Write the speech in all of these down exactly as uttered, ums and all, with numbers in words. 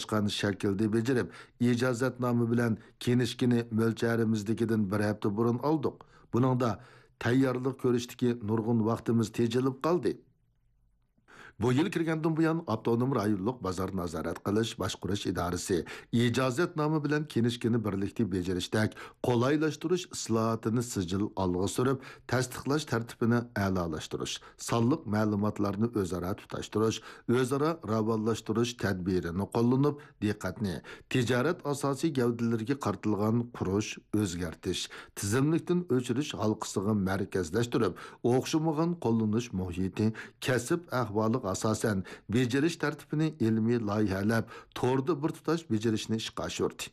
ئورۇنلاشقان شەكىلدە بېجىرىپ، ئىجازەتنامە بىلەن كىنىشكىنى مۆلچەرىمىزدىكىدىن بىر ھەپتە بۇرۇن ئالدۇق. بۇنىڭدا تەييارلىق كۆرۈشتىكى نۇرغۇن ۋاقتىمىز تېجىلىپ قالدى. بۇ يىل كىرگەندىن بۇيان، ئاپتونوم رايونلۇق بازار نازارەت قىلىش باشقۇرۇش ئىدارىسى ئىجازەتنامە بىلەن كىنىشكىنى بىرلىكتە بېجىرىشتەك قولايلاشتۇرۇش ئىسلاھاتىنى سىجىل ئالغا سۈرۈپ، تەستىقلاش تەرتىپىنى ئەلالاشتۇرۇش، سانلىق مەلۇماتلارنى ئۆزئارا تۇتاشتۇرۇش، ئۆزئارا راۋانلاشتۇرۇش تەدبىرىنى قوللىنىپ، دىققەتنى تىجارەت ئاساسىي گەۋدىلىرىگە قارىتىلغان قۇرۇش، ئۆزگەرتىش، تىزىملىكتىن ئۆچۈرۈش ھالقىسىغا مەركەزلەشتۈرۈپ، ئوخشىمىغان قوللىنىش مۇھىتى، كەسىپ ئەھۋالىغا ئاساسەن بېجىرىش تەرتىپىنى ئىلمىي لايىھەلەپ، توردا بىر تۇتاش بېجىرىشنى ئىشقا ئاشۇردى.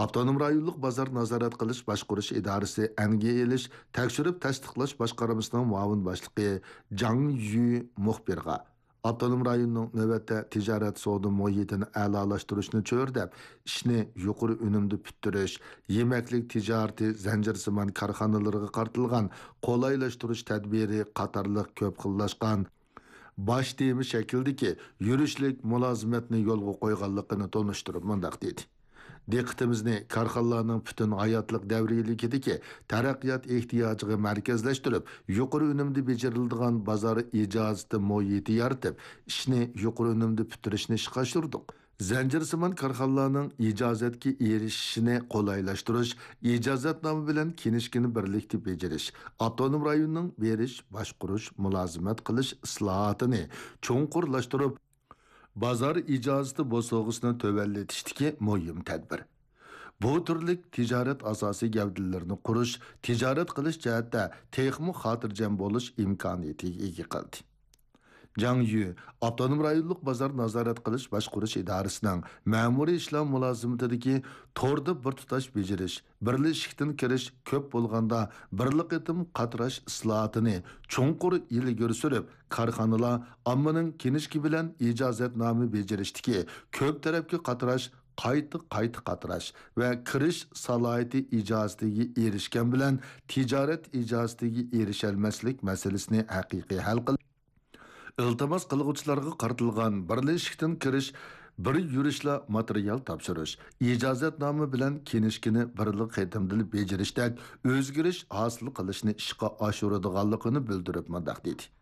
ئاپتونوم رايونلۇق بازار نازارەت قىلىش باشقۇرۇش ئىدارىسى ئەنگە ئېلىش تەكشۈرۈپ تەستىقلاش باشقارمىسىنىڭ مۇئاۋىن باشلىقى جاڭ يۈ مۇخبىرغا، ئاپتونوم رايوننىڭ نۆۋەتتە تىجارەت سودا مۇھىتىنى ئەلالاشتۇرۇشنى چۆرىدەپ، ئىشنى يۇقىرى ئۈنۈمدە پۈتتۈرۈش، يېمەكلىك تىجارىتى زەنجىرسىمان كارخانىلىرىغا قارىتىلغان قولايلاشتۇرۇش تەدبىرى قاتارلىق كۆپ خىللاشقان باش تېما شەكلىدىكى يۈرۈشلۈك مۇلازىمەتنى يولغا قويغانلىقىنى تونۇشتۇرۇپ مۇنداق دېدى: دىققىتىمىزنى كارخانىلارنىڭ پۈتۈن ھاياتلىق دەۋرىيلىكىدىكى تەرەققىيات ئېھتىياجىغا مەركەزلەشتۈرۈپ، يۇقىرى ئۈنۈمدە بېجىرىلىدىغان بازار ئىجازىتى مۇھىتى يارىتىپ، ئىشنى يۇقىرى ئۈنۈمدە پۈتتۈرۈشنى ئىشقا ئاشۇردۇق. زەنجىرسىمان كارخانىلارنىڭ ئىجازەتكە ئېرىشىشىنى قولايلاشتۇرۇش، ئىجازەتنامە بىلەن كىنىشكىنى بىرلىكتە بېجىرىش، ئاپتونوم رايوننىڭ بېرىش، باشقۇرۇش، مۇلازىمەت قىلىش ئىسلاھاتىنى چوڭقۇرلاشتۇرۇپ، بازار ئىجازىتى بوسۇغىسىنى تۆۋەنلىتىشتىكى مۇھىم تەدبىر. بۇ تۈرلۈك تىجارەت ئاساسىي گەۋدىلىرىنى قۇرۇش، تىجارەت قىلىش جەھەتتە تېخىمۇ خاتىرجەم بولۇش ئىمكانىيىتىگە ئىگە قىلدى. جاڭ يۈ ئاپتونوم رايونلۇق بازار نازارەت قىلىش باشقۇرۇش ئىدارىسىنىڭ مەمۇرىي ئىشلار مۇلازىمىتىدىكى توردا بىر تۇتاش بېجىرىش، بىرلا ئىشىكتىن كىرىش، كۆپ بولغاندا بىرلا قېتىم قاتراش ئىسلاھاتىنى چوڭقۇر ئىلگىرى سۈرۈپ، كارخانىلار ئاممىنىڭ كىنىشكا بىلەن ئىجازەتنامە بېجىرىشتىكى كۆپ تەرەپكە قاتراش، قايتا، قايتا قاتراش ۋە كىرىش سالاھىيىتى ئىجازىتىگە ئېرىشكەن بىلەن تىجارەت ئىجازىتىگە ئېرىشەلمەسلىك مەسىلىسىنى ھەقىقىي ھەل قىلىش، ئىلتىماس قىلغۇچىلارغا قارىتىلغان بىرلا ئىشىكتىن كىرىش، بىر يۈرۈشلا ماتېرىيال تاپشۇرۇش، ئىجازەتنامە بىلەن كىنىشكىنى بىرلا قېتىمدىلا بېجىرىشتەك ئۆزگىرىش ھاسىل قىلىشنى ئىشقا ئاشۇرىدىغانلىقىنى بىلدۈرۈپ مۇنداق دېدى: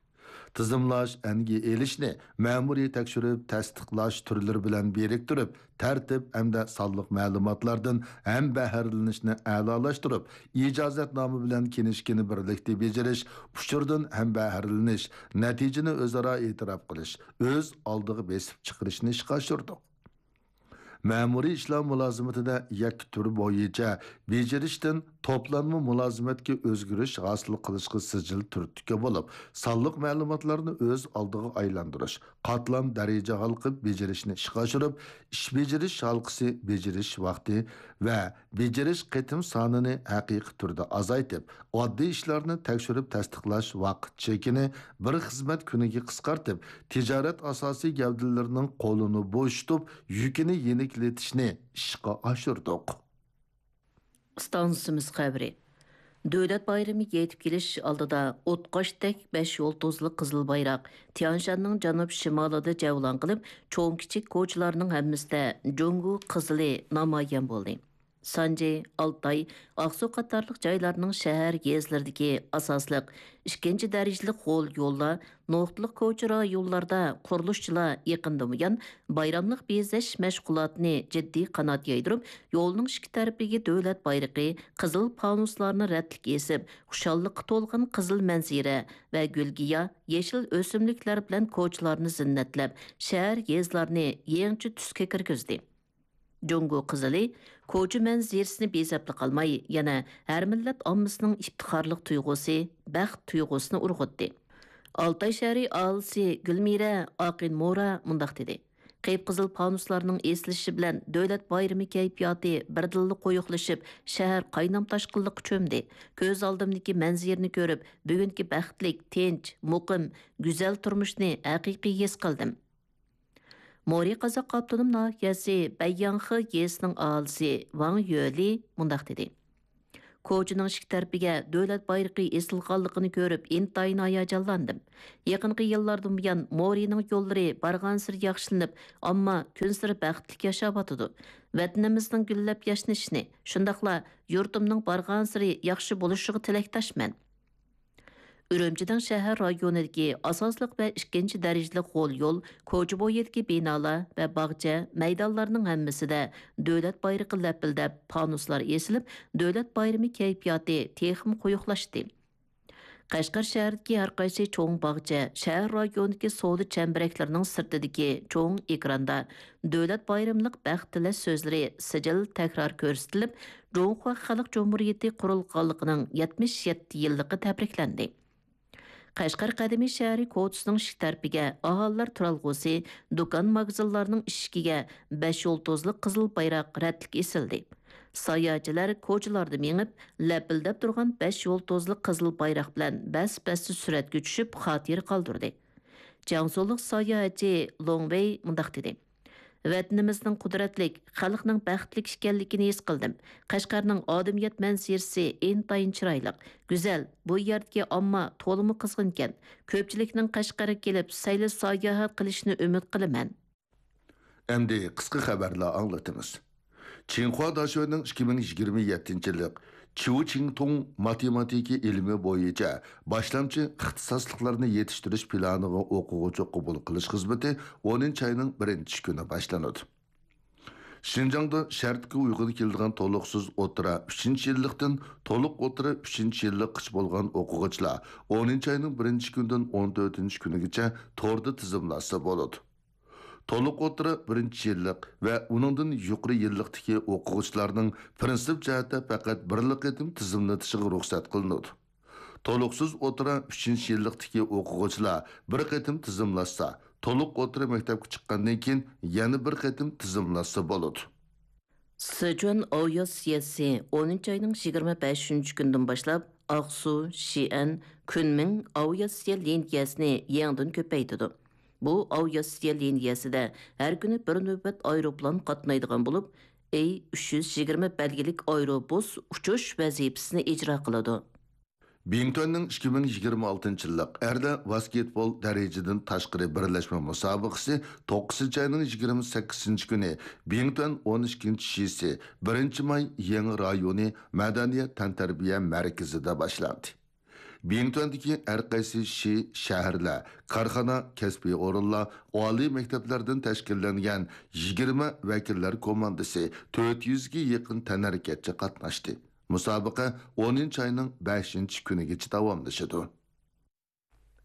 تىزىملاش، ئەنگە ئېلىشنى مەمۇرىي تەكشۈرۈپ تەستىقلاش تۈرلىرى بىلەن بىرىكتۈرۈپ، تەرتىپ ھەمدە سانلىق مەلۇماتلاردىن ھەمبەھىرلىنىشنى ئەلالاشتۇرۇپ، ئىجازەتنامە بىلەن كىنىشكىنى بىرلىكتە بېجىرىش، ئۇچۇردىن ھەمبەھىرلىنىش، نەتىجىنى ئۆزئارا ئېتىراپ قىلىش، ئۆز ئالدىغا بېسىپ چىقىرىشنى ئىشقا ئاشۇردۇق. مەمۇرىي ئىشلار مۇلازىمىتىدە يەككە تۈر بويىچە بېجىرىشتىن توپلانما مۇلازىمەتكە ئۆزگىرىش ھاسىل قىلىشقا سىجىل تۈرتكە بولۇپ، سانلىق مەلۇماتلارنى ئۆز ئالدىغا ئايلاندۇرۇش، قاتلام دەرىجە ھالقىپ بېجىرىشنى ئىشقا ئاشۇرۇپ، ئىش بېجىرىش ھالقىسى، بېجىرىش ۋاقتى ۋە بېجىرىش قېتىم سانىنى ھەقىقىي تۈردە ئازايتىپ، ئاددىي ئىشلارنى تەكشۈرۈپ تەستىقلاش ۋاقىت چېكىنى بىر خىزمەت كۈنىگە قىسقارتىپ، تىجارەت ئاساسىي گەۋدىلىرىنىڭ قولىنى بوشىتىپ، يۈكىنى يېنىكلىتىشنى ئىشقا ئاشۇردۇق. ئىستانسىمىز خەۋىرى. دۆلەت بايرىمى يېتىپ كېلىش ئالدىدا ئوتقاشتەك بەش يۇلتۇزلۇق قىزىل بايراق تيانشاننىڭ جەنۇب شىمالىدا جەۋلان قىلىپ، چوڭ-كىچىك كوچىلارنىڭ ھەممىسىدە جۇڭگو قىزىلى نامايان بولدى. سانجى، ئالتاي، ئاقسۇ قاتارلىق جايلارنىڭ شەھەر، يېزىلىرىدىكى ئاساسلىق ئىككىنچى دەرىجىلىك غول يوللار، نۇقتىلىق كوچا رايونلاردا قۇرۇلۇشچىلار يېقىندىن بۇيان بايراملىق بېزەش مەشغۇلاتىنى جىددىي قانات يايدۇرۇپ، يولنىڭ ئىككى تەرىپىگە دۆلەت بايرىقى، قىزىل پانۇسلارنى رەتلىك ئېسىپ، خۇشاللىققا تولغان قىزىل مەنزىرە ۋە گۈلگىياھ، يېشىل ئۆسۈملۈكلەر بىلەن كوچىلارنى زىننەتلەپ، شەھەر، يېزىلارنى يېڭىچە تۈسكە كىرگۈزدى. جۇڭگو قىزىلى كوچا مەنزىرىسىنى بېزەپلا قالماي، يەنە ھەر مىللەت ئاممىسىنىڭ ئىپتىخارلىق تۇيغۇسى، بەخت تۇيغۇسىنى ئۇرغۇتتى. ئالتاي شەھىرى ئاھالىسى گۈلمىرە ئاقىنمورا مۇنداق دېدى: قىپقىزىل پانۇسلارنىڭ ئېسىلىشى بىلەن دۆلەت بايرىمى كەيپىياتى بىردىنلا قويۇقلىشىپ، شەھەر قاينام-تاشقىنلىققا چۆمدى. كۆز ئالدىمدىكى مەنزىرىنى كۆرۈپ، بۈگۈنكى بەختلىك، تىنچ، مۇقىم، گۈزەل تۇرمۇشنى ھەقىقىي ھېس قىلدىم. مورى قازاق ئاپتونوم ناھىيەسى بەيياڭخې يېزىسىنىڭ ئاھالىسى ۋاڭ يۆلى مۇنداق دېدى: كوچىنىڭ ئىككى تەرىپىگە دۆلەت بايرىقى ئېسىلغانلىقىنى كۆرۈپ، ئىنتايىن ھاياجانلاندىم. يېقىنقى يىللاردىن بۇيان، مورىنىڭ يوللىرى بارغانسېرى ياخشىلىنىپ، ئامما كۈنسېرى بەختلىك ياشاۋاتىدۇ. ۋەتىنىمىزنىڭ گۈللەپ ياشنىشىنى، شۇنداقلا يۇرتۇمنىڭ بارغانسېرى ياخشى بولۇشىغا تىلەكداشمەن. ئۈرۈمچىنىڭ شەھەر رايونىدىكى ئاساسلىق ۋە ئىككىنچى دەرىجىلىك غول يول، كوچا بويىدىكى بىنالار ۋە باغچە، مەيدانلارنىڭ ھەممىسىدە دۆلەت بايرىقى لەپىلدەپ، پانۇسلار ئېسىلىپ، دۆلەت بايرىمى كەيپىياتى تېخىمۇ قويۇقلاشتى. قەشقەر شەھىرىدىكى ھەر قايسى چوڭ باغچە، شەھەر رايونىدىكى سودا چەمبىرەكلىرىنىڭ سىرتىدىكى چوڭ ئېكراندا دۆلەت بايرىملىق بەخت تىلەش سۆزلىرى سىجىل تەكرار كۆرسىتىلىپ، جۇڭخۇا خەلق جۇمھۇرىيىتى قۇرۇلغانلىقىنىڭ يەتمىش يەتتە يىللىقى تەبرىكلەندى. قەشقەر قەدىمىي شەھىرى كوچىسىنىڭ ئىشىك تەرىپىگە ئاھالىلەر تۇرالغۇسى، دۇكان، ماگىزىنلارنىڭ ئىشىكىگە بەش يۇلتۇزلۇق قىزىل بايراق رەتلىك ئېسىلدى. ساياھەتچىلەر كوچىلاردا مېڭىپ، لەپىلدەپ تۇرغان بەش يۇلتۇزلۇق قىزىل بايراق بىلەن بەس-بەستە سۈرەتكە چۈشۈپ، خاتىرە قالدۇردى. جياڭسۇلۇق ساياھەتچى لوڭ ۋېي مۇنداق دېدى: ۋەتىنىمىزنىڭ قۇدرەتلىك، خەلقنىڭ بەختلىك ئىكەنلىكىنى ھېس قىلدىم. قەشقەرنىڭ ئادەمىيەت مەنزىرىسى ئىنتايىن چىرايلىق، گۈزەل. بۇ يەردىكى ئامما تولىمۇ قىزغىنكەن. كۆپچىلىكنىڭ قەشقەرگە كېلىپ سەيلە ساياھەت قىلىشىنى ئۈمىد قىلىمەن. ئەمدى قىسقا خەۋەرلەر ئاڭلىتىمىز. چىڭخۇا داشۆنىڭ ئىككى مىڭ يىگىرمە يەتتىنچى يىللىق چيۇ چىڭتۇڭ ماتېماتىكا ئىلمى بويىچە باشلامچى ئىختىساسلىقلارنى يېتىشتۈرۈش پىلانىغا ئوقۇغۇچى قوبۇل قىلىش خىزمىتى ئونىنچى ئاينىڭ بىرىنچى كۈنى باشلىنىدۇ. شىنجاڭدا شەرتكە ئۇيغۇن كېلىدىغان تولۇقسىز ئوتتۇرا ئۈچىنچى يىللىقتىن تولۇق ئوتتۇرا ئۈچىنچى يىللىققىچە بولغان ئوقۇغۇچىلار ئونىنچى ئاينىڭ بىرىنچى كۈنىدىن ئون تۆتىنچى كۈنىگىچە توردا تىزىملاشسا بولىدۇ. تولۇق ئوتتۇرا بىرىنچى يىللىق ۋە ئۇنىڭدىن يۇقىرى يىللىقتىكى ئوقۇغۇچىلارنىڭ پىرىنسىپ جەھەتتە پەقەت بىرلا قېتىم تىزىملىتىشىغا رۇخسەت قىلىنىدۇ. تولۇقسىز ئوتتۇرا ئۈچىنچى يىللىقتىكى ئوقۇغۇچىلار بىر قېتىم تىزىملاشسا، تولۇق ئوتتۇرا مەكتەپكە چىققاندىن كېيىن يەنە بىر قېتىم تىزىملاشسا بولىدۇ. سىچۈەن ئاۋىئاتسىيەسى ئونىنچى ئاينىڭ يىگىرمە بەشىنچى كۈنىدىن باشلاپ ئاقسۇ، شىئەن، كۈنمىڭ ئاۋىئاتسىيە لىنىيەسىنى يېڭىدىن كۆپەيتىدۇ. بۇ ئاۋىئاتسىيە لىنىيەسىدە ھەر كۈنى بىر نۆۋەت ئايروپىلان قاتنايدىغان بولۇپ، ئېي ئۈچ يۈز يىگىرمە بەلگىلىك ئايروبۇس ئۇچۇش ۋەزىپىسىنى ئىجرا قىلىدۇ. بىڭتۈەننىڭ ئىككى مىڭ يىگىرمە ئالتىنچى يىللىق ئەرلەر ۋاسكېتبول دەرىجىدىن تاشقىرى بىرلەشمە مۇسابىقىسى توققۇزىنچى ئاينىڭ يىگىرمە سەككىزىنچى كۈنى بىڭتۈەن ئون ئىككىنچى شىسى، بىرىنچى ماي يېڭى رايونى مەدەنىيەت تەنتەربىيە مەركىزىدە باشلاندى. بىڭتۈەندىكى ھەر قايسى شى، شەھەرلەر، كارخانا، كەسپىي ئورۇنلار، ئالىي مەكتەپلەردىن تەشكىللەنگەن يىگىرمە ۋەكىللەر كوماندىسى تۆت يۈزگە يېقىن تەنھەرىكەتچى قاتناشتى. مۇسابىقە ئونىنچى ئاينىڭ بەشىنچى كۈنىگىچە داۋاملىشىدۇ.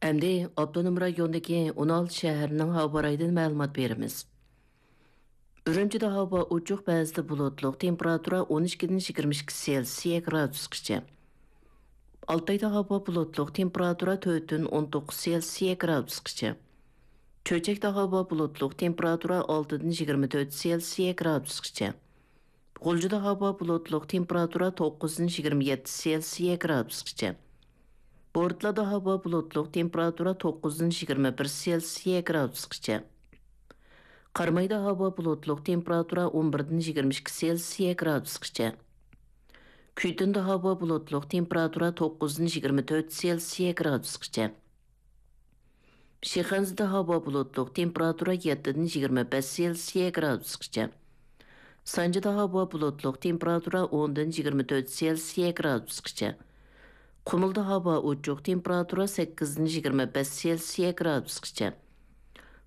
ئەمدى ئاپتونوم رايوندىكى ئون ئالتە شەھەرنىڭ ھاۋا رايىدىن مەلۇمات بېرىمىز. ئۈرۈمچىدە ھاۋا ئوچۇق، بەزىدە بۇلۇتلۇق، تېمپېراتۇرا ئون ئىككىدىن يىگىرمە ئىككى سېلسىيە گرادۇسقىچە. ئالتايدا ھاۋا بۇلۇتلۇق، تېمپېراتۇرا تۆتتىن ئون توققۇز سېلسىيە گرادۇسقىچە. چۆچەكتە ھاۋا بۇلۇتلۇق، تېمپېراتۇرا ئالتىدىن يىگىرمە تۆت سېلسىيە گرادۇسقىچە. غۇلجىدا ھاۋا بۇلۇتلۇق، تېمپېراتۇرا توققۇزدىن يىگىرمە يەتتە سېلسىيە گرادۇسقىچە. بورتالادا ھاۋا بۇلۇتلۇق، تېمپېراتۇرا توققۇزدىن يىگىرمە بىر سېلسىيە گرادۇسقىچە. قارامايدا ھاۋا بۇلۇتلۇق، تېمپېراتۇرا ئون بىردىن يىگىرمە ئىككى سېلسىيە گرادۇسقىچە. كۈيتۇندا ھاۋا بۇلۇتلۇق، تېمپېراتۇرا توققۇزدىن يىگىرمە تۆت سېلسىيە گرادۇسقىچە. شىخەنزىدە ھاۋا بۇلۇتلۇق، تېمپېراتۇرا يەتتىدىن يىگىرمە بەش سېلسىيە گرادۇسقىچە. سانجىدا ھاۋا بۇلۇتلۇق، تېمپېراتۇرا ئوندىن يىگىرمە تۆت سېلسىيە گرادۇسقىچە. قۇمۇلدا ھاۋا ئوچۇق، تېمپېراتۇرا سەككىزدىن يىگىرمە بەش سېلسىيە گرادۇسقىچە.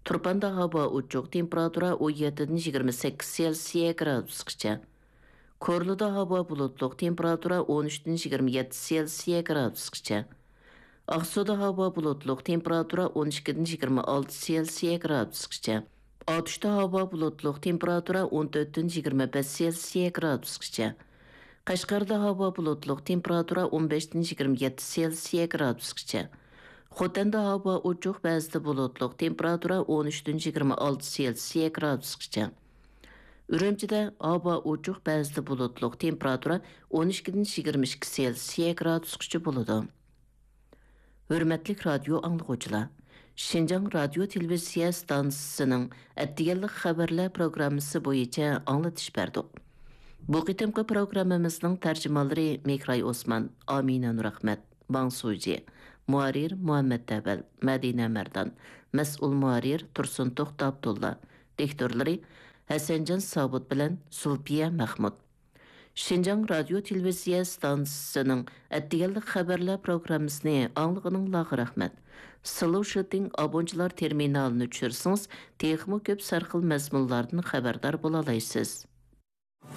تۇرپاندا ھاۋا ئوچۇق، تېمپېراتۇرا ئون يەتتىدىن يىگىرمە سەككىز سېلسىيە گرادۇسقىچە. كورلىدا ھاۋا بۇلۇتلۇق، تېمپېراتۇرا ئون ئۈچتىن يىگىرمە يەتتە سېلسىيە گرادۇسقىچە. ئاقسۇدا ھاۋا بۇلۇتلۇق، تېمپېراتۇرا ئون ئىككىدىن يىگىرمە ئالتە سېلسىيە گرادۇسقىچە. ئاتۇشتا ھاۋا بۇلۇتلۇق، تېمپېراتۇرا ئون تۆتتىن يىگىرمە بەش سېلسىيە گرادۇسقىچە. قەشقەردە ھاۋا بۇلۇتلۇق، تېمپېراتۇرا ئون بەشتىن يىگىرمە يەتتە سېلسىيە گرادۇسقىچە. خوتەندە ھاۋا ئوچۇق، بەزىدە بۇلۇتلۇق، تېمپېراتۇرا ئون ئۈچتىن يىگىرمە ئالتە سېلسىيە گرادۇسقىچە. ئۈرۈمچىدە ھاۋا ئوچۇق، بەزىدە بۇلۇتلۇق، تېمپېراتۇرا ئون ئىككىدىن يىگىرمە ئىككى سېلسىيە گرادۇسقىچە بولىدۇ. ھۆرمەتلىك رادىيو ئاڭلىغۇچىلار، شىنجاڭ رادىيو تېلېۋىزىيە ئىستانسىسىنىڭ ئەتىگەنلىك خەۋەرلەر پروگراممىسى بويىچە ئاڭلىتىش بەردۇق. بۇ قېتىمقى پروگراممىمىزنىڭ تەرجىمانلىرى مىكراي ئوسمان، ئامىنە نۇرئەخمەت، باڭ سۇجى، مۇھەررىر مۇھەممەت تەۋەل، مەدىنە مەردان، مەسئۇل مۇھەررىر تۇرسۇن توختى ئابدۇللا، دىكتورلىرى ھەسەنجان سابىت بىلەن زۇلپىيە مەخمۇت. شىنجاڭ رادىيو تېلېۋىزىيە ئىستانسىسىنىڭ ئەتىگەنلىك خەۋەرلەر پروگراممىسىنى ئاڭلىغىنىڭلارغا رەھمەت. سلوشىتىڭ ئابونچىلار تېرمىنالىنى چۈشۈرسىڭىز، تېخىمۇ كۆپ سەرخىل مەزمۇنلاردىن خەۋەردار بولالايسىز.